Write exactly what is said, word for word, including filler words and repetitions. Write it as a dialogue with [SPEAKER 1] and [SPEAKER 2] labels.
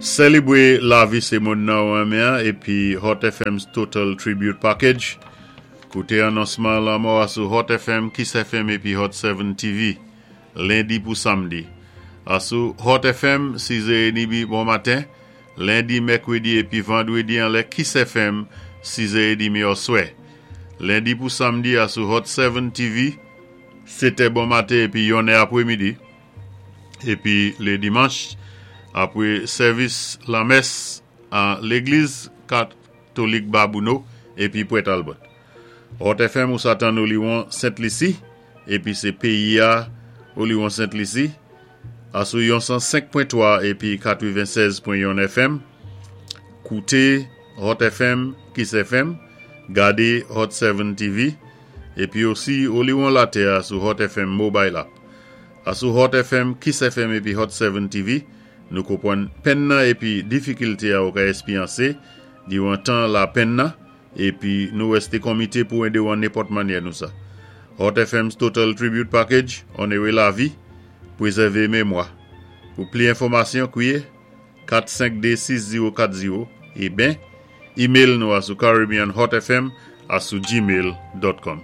[SPEAKER 1] Sélébwé lavi sé moun nan ou renmen épi Hot F M's Total Tribute Package. Kouté anonsman lanmò a sou Hot F M, Kiss F M épi Hot sept T V, lendi pou samdi. Asou Hot F M, sis è trant bon maten, lendi, mèkwédi épi vandwédi anlè Kiss F M, sis è trant oswè. Lendi pou samdi asou Hot sept T V, sétè bon maten épi yonnè apwémidi. Épi lé dimanch, apwé sèvis lamès an légliz katolik Babouno épi Port Talbot. Hot F M ou sa tann Oliwon Sent Lisi, épi sé péyi a Oliwon Sent Lisi, asou yon san senk pwen twa épi katwennsèz pwen yon F M. Kouté Hot F M, Kiss F M, gadé Hot sept T V, épi osi Oliwon Latè sou Hot F M Mobile App. Asou Hot F M, Kiss F M épi Hot sept T V, nou konpwann penn nan épi difikilté a ou ka éspéryansé, diwan tan lapenn nan, épi nou wèsté komité pou édé ou an nenpòt mannyè nou sa. Hot F M's Total Tribute Package, onoré lavi, pwézèvé mémwa. Pou plis enfòmasyon, kwiyé kat senk de sis zewo kat zewo é ben, email nou a sou caribbeanhotfm a sou gmail dot com.